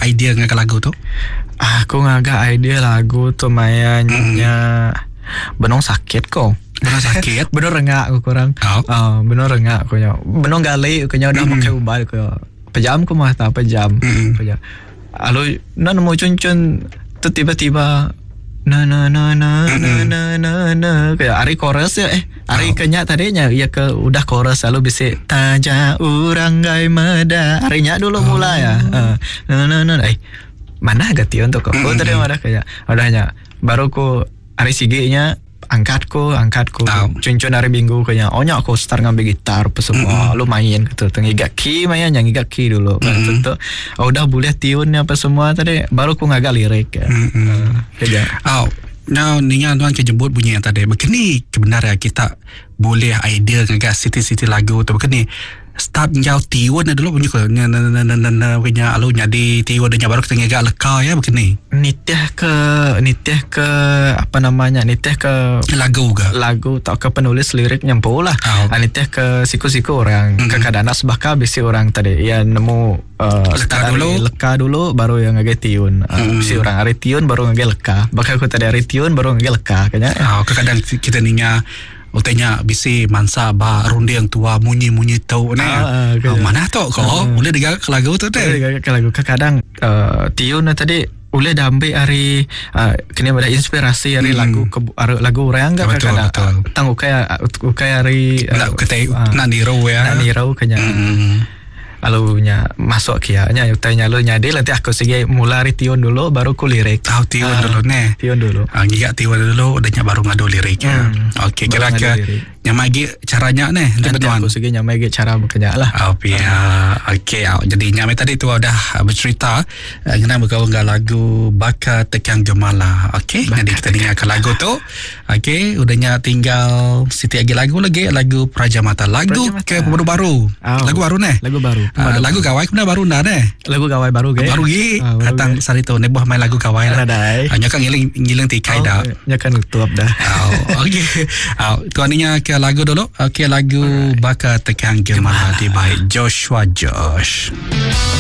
idea ngaga lagu tu? Aku ngaga idea lagu tu maya nya benung sakit ko. Benung sakit? Benung rengak ku kurang. Oh. Uh, benung rengak ku nya. Benung gali ku nya udah makai ubat ku. Pejam ku mata pejam. Pejam. Lalu enda nemu chun-chun tu tiba-tiba na na na na na na na na kayak ari chorus ya eh ari ke nya tadi nya iya ke udah chorus lalu bisi taja urang gai meda ari nya dulu mula ya uh, na na na eh manah ga tiun tu ko mm. tadi madah kayak udah nya baru ku ari sigi nya Angkat ku, angkat ku. Tau. Cun-cun hari minggu ku nya. Oh nya aku start ngambil gitar apa semua. Mm-hmm. Lalu main gitu. Tu ngiga key maya nya ngiga key dulu. Mm-hmm. Tu, tu. Oh, udah boleh tune apa semua tadi baru ku ngaga lirik. Ya. Mm-hmm. Uh, kerja. Oh, Now, ninga tuan ke jemput bunyi yang tadi. Begini kebenar ya kita boleh idea ngaga siti-siti lagu tu. Begini Start enggau tiun nya dulu munyi ko nya na na na na nya lalu nyadi tiun nya baru kita ngiga leka iya baka ni. Nitih ke nitih ke apa nama nya nitih ke Lagu ga. Lagu tauka penulis lirik nya empu lah. Oh. Nitih ke siku-siku orang. Mm-hmm. Kekadang enda sebaka bisi orang tadi iya nemu uh, Leka dulu. Leka dulu baru iya ngagai tiun. Uh, mm. Bisi orang ari tiun baru ngagai leka. Baka aku tadi ari tiun baru ngagai leka kanya. Oh, kekadang kita ninga Utai nya bisi mansa ba runding tua munyi-munyi tu ne. Ah, ah, manah tu ko ah. Boleh digaga ke lagu tu teh. Boleh digaga ke lagu. Kadang uh, tiun tadi boleh diambil ari uh, kena ada inspirasi ari lagu ke ari lagu orang ke Betul, kadang. betul. Tang ukai ukai ari Nak kita nak niru ya. Nak niru kenya. Hmm. Lalu nya masuk kia nya utai nya lalu nyadi nanti aku sigi mula ari tiun dulu baru ku lirik. Tahu tiun Ah, dulu neh. Tiun dulu. Ah, ngiga tiun dulu udah nya baru ngadu lirik. Hmm. Okey Baru kira ngadu ke lirik. nyamai agi cara nya neh enti Nanti benuan. aku sigi nyamai agi cara bekenya lah. Oh, pia. Okey, au. Jadi nyamai tadi tu udah bercerita ngena bekaul enggau lagu Baka Tekang Gemala. Okey, jadi kita dengar ke lagu tu. Okey, udah nya tinggal siti agi lagu lagi, lagu Praja Mata. Lagu Praja Mata. ke pemadu baru. Oh. Lagu baru neh. Lagu baru. Uh, lagu gawai kena baru nda neh. Lagu gawai baru ge. Baru gi Ah, baru datang ge. sehari tu nebuh main lagu gawai lah. Nadai. Uh, nya kan ngiling ngiling tikai Oh, dah. Nya kan nutup dah. Oh, okey. Oh, tuan ni ke lagu dulu. Okey, lagu Baka Tekang Gemala di by Joshua Josh.